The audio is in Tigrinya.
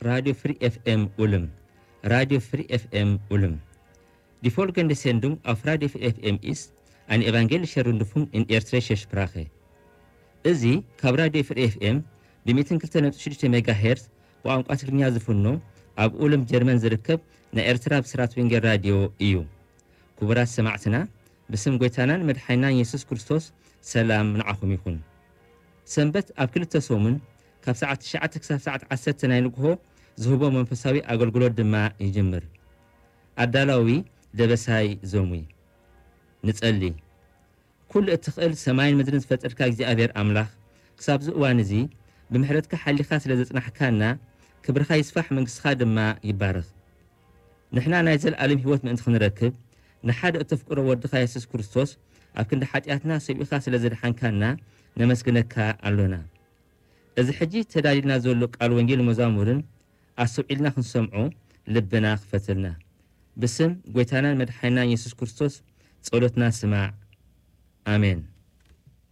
Radio Fri F M Ulm. Radio Fri F M Ulm. Die folgende Sendung auf Radio Fri F M ist eine evangelische Rundfunk in eritreischer Sprache. እዚ ካብ ራድዮ ፍሪ ኤፍ ኤም ብ ሚእትን ክልተ ነጥቢ ሽዱሽተ ሜጋ ሄርዝ ብቋንቋ ትግርኛ ዝፍኖ ኣብ ኡልም ጀርመን ዝርከብ ናይ ኤርትራ ብስራት ወንጌል ራድዮ እዩ። ክቡራት ሰማዕትና፣ ብስም ጎይታናን መድሓኒናን የሱስ ክርስቶስ ሰላም ንዓኹም ይኹን። ሰንበት ኣብ ክልተ ሰሙን ካብ ሰዓት ትሽዓተ ክሳብ ሰዓት ዓሰርተ ናይ ንግሆ ዝህቦ መንፈሳዊ ኣገልግሎት ድማ ይጅምር። ኣዳላዊ ደበሳይ ዘሙይ። ንጸሊ። ኩሉ እትኽእል ሰማይን ምድርን ዝፈጠርካ እግዚኣብሔር ኣምላኽ፣ ክሳብዚ እዋን እዚ ብምሕረትካ ሓሊኻ ስለ ዘጽናሕካና፣ ክብርኻ ይስፋሕ፣ መንግስትኻ ድማ ይባረኽ። ንሕና ናይ ዘለኣለም ህይወት ምእንቲ ክንረክብ፣ ንሓደ እተፍቅሮ ወድኻ የሱስ ክርስቶስ ኣብ ክንዲ ሓጢኣትና ሰዊእኻ ስለ ዘድሓንካና ነመስግነካ ኣሎና። እዚ ሕጂ ተዳሊልና ዘሎ ቃል ወንጌል መዛሙርን ኣስተውዒልና ክንሰምዖ ልብና ክፈተልና። ብስም ጎይታናን መድሓኒናን የሱስ ክርስቶስ ጸሎትና ስማዕ። ኣሜን።